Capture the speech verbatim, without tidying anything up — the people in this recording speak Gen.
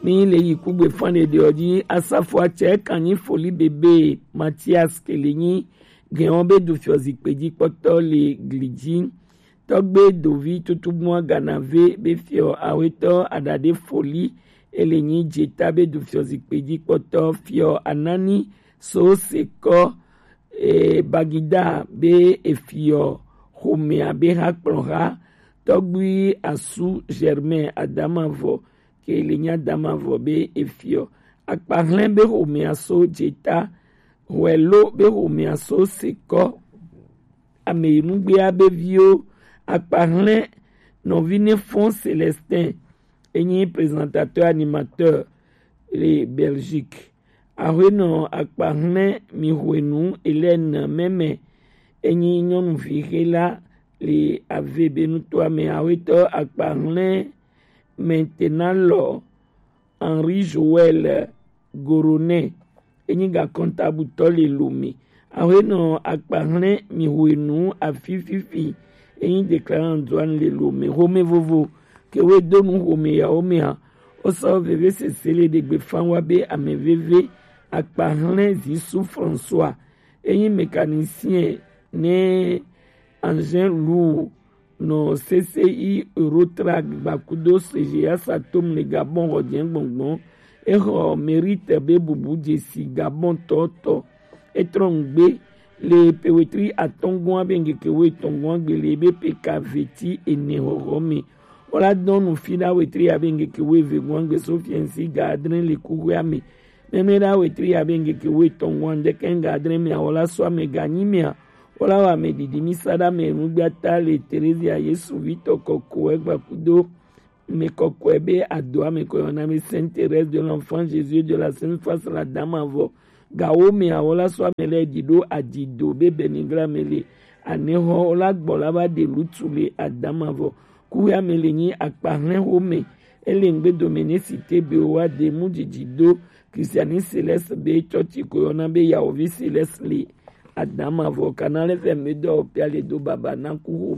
Mi le yi kugbe fan ɖeɖe ɔ ji, asafo acɛ kan nyi foli bebe Mathias ke le nyi gɛn ɔ be du fiɔ zikpe ji kpɔtɔ le gli ji. Tɔgbe dovi tutugbua ganave be fiɔ awetɔ adade foli ele nyi jeta be du fiɔ zikpe ji kpɔtɔ fiɔ anani so sekɔ e, Bagida be efiɔ xomea be ha kplɔ ha. Tɔgbui asu Germain Adamavɔ ke le nya Adamavɔ be efiɔ. Akpahlɛn be xomea so jeta, Huɛlo be xomea so sekɔ, Ameyinugbea be viwo, Akpahlɛn nɔvi ne fɔn Célestin, enyi présentateur animateur le Belgique. Ahuenɔ Akpahlɛn mi hwenu Hélène mɛmɛ, enyi nyɔnuvi xe la le ave be nutoa me. Ahuetɔ Akpahlɛn maintenant lɔ Henri Joël Goronɛ, enyi ga kɔntabutɔ le Lomé. Ahuenɔ Akpahlɛn mi hwenu afi fifi, enyi déclarant douane le Lomé. Xome vovo ke we do nu xome yawo mea, o sɔ veve sese le ɖegbe fan wa be ame veve Akpahlɛn Zisu François, enyi mécanicien ne engin lourd nɔ C C I Eurotrack gbakudo C G A Satom le Gabon xɔjɛ gbɔngbɔn. Exɔ mérite be bubu jesi Gabon tɔtɔ. Etrɔ ŋgbe le pewetri atɔngɔn be ŋgeke wo etɔngɔn gbe le be peka veti ene xɔxɔ me. Wala dɔn nu fi da wetri abe ŋgeke wo eve gɔn gbe so fiɛnsi ga adre le kuxua me. Mɛmɛ da wetri abe ŋgeke wo etɔngɔn deke ga adre me awɔla so ame ga nyi mea. Wala wa me didi mi sa da me nu gba ta le Terezia Yesu vitɔ kɔkɔe gbakudo me kɔkɔe be adoa me kɔyɔna me Sainte Thérèse de l'Enfant Jésus de la Sainte Face la Dame avɔ. Gawo me awɔla so ame le di do adido be benigra me le. Anexɔ wala gbɔ la ba de lutu le Adama vɔ. Kuya me le nyi Akpahlɛn xome. Ele ŋgbe dome ne si te be wa de mu didi do Christiani Céleste be tsɔtsi ko yɔna be Yawovi Céleste le Adama vɔ. Canal F M be dɔ pia le do baba na ku xome.